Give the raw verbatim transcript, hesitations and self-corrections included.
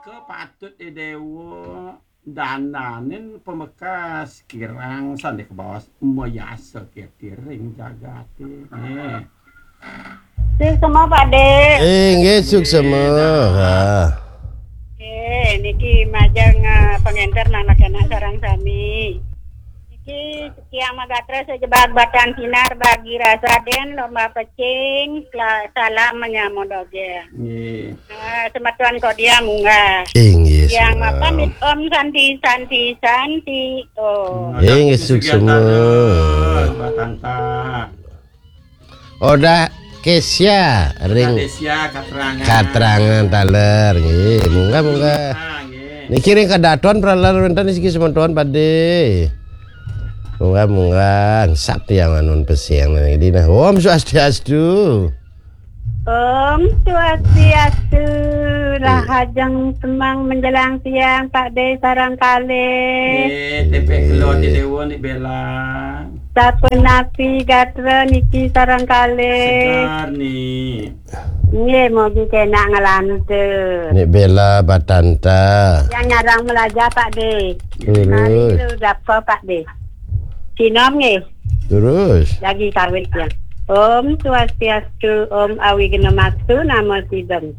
Kepatut Déwa dandanin pamekas kirang sandé kabaos mayasa ketiring jagaté. Nggih. Suksma, Pak Dé. Eh, nggih, suksma. Nggih, nah. Ha. Eh, niki majeng, eh, pangenter nang anak-anak sareng sami. Niki Tiang Magatra sajebag batan sinar bagi rasa den lomba pecing, sela-, salam menyambut dogén. Nggih. Ah, semeton Kodia munggah. Inggih, Tiang salam. Mapamit Om Santi, Santi, Santi, Om. Inggih, suksma. Batanta. Odah Kesia ring Kesia Katrangan. Katrangan taler. Nggih, munggah, munggah. Ah, nggih. Niki ring kadaton pralar wénten siki semeton Pak Dé. Munggah, munggah. Sap tiang anun pesing niki dina. Om Swastiastu. Om Swastiastu. Iya. Rahajeng semeng menjelang siang, Pak Dé sareng kalih. Nggih, tepek kelo di Déwa ni Bella. Sapunapi gatra niki sareng kalih. Segar ni. Nggih, mugi kenak nglantur. Ni Bella Batanta. Yang nyarang melaja, Pak Dé. Terus. Mari lu dapa, Pak Dé. Sinom nggih. Terus. Lagi kawit ya. Om Swastiastu, Om Awighnamastu, Namo Siddham.